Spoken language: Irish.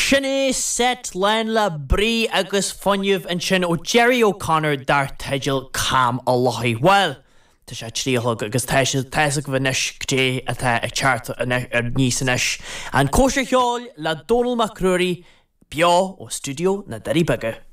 Sin é seit lán le brí agus fuinneamh ansin ó Gerry O'Connor dar teideal Cam a' Lochaigh. Bhuel, tá sé a 3 a chlog agus tá sé, tá fhios agaibh anois goidé atá ag teacht aníos anois. An Cóisir Cheoil le Dónall Mac Ruairí, beo ó stiúideo na Doirí Beaga.